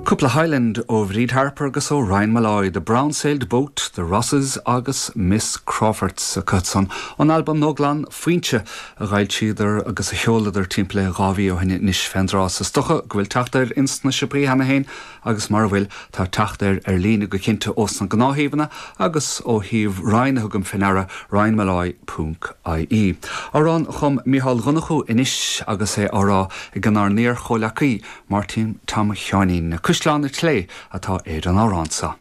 Cúpla Highland ó Bhríd Harper agus ó Ryan Molloy, The Brown Sailed Boat, The Rosses agus Miss Crawfords acusan ón albam nua glan Foinse a dh'fhoilsíodar agus a sheoladar timpeall le 2 mhí ó shin anois fén dtráth. Is dócha go bhfuil teacht air ins na siopaí cheana féin agus mara bhfuil, tá teacht air ar líne go cinnte ós na gnáthshuíomhanna agus ó shuíomh Ryan a thugaim fé ndeara, ryanmolloy ponc ie. Amhrán a chum Mícheál Ó Donnchú anois agus é á rá ag ár n-iar-chomhleacaí, Máirtín Tom Sheáinín. Caisleán an tSlé atá ar an amhrán seo.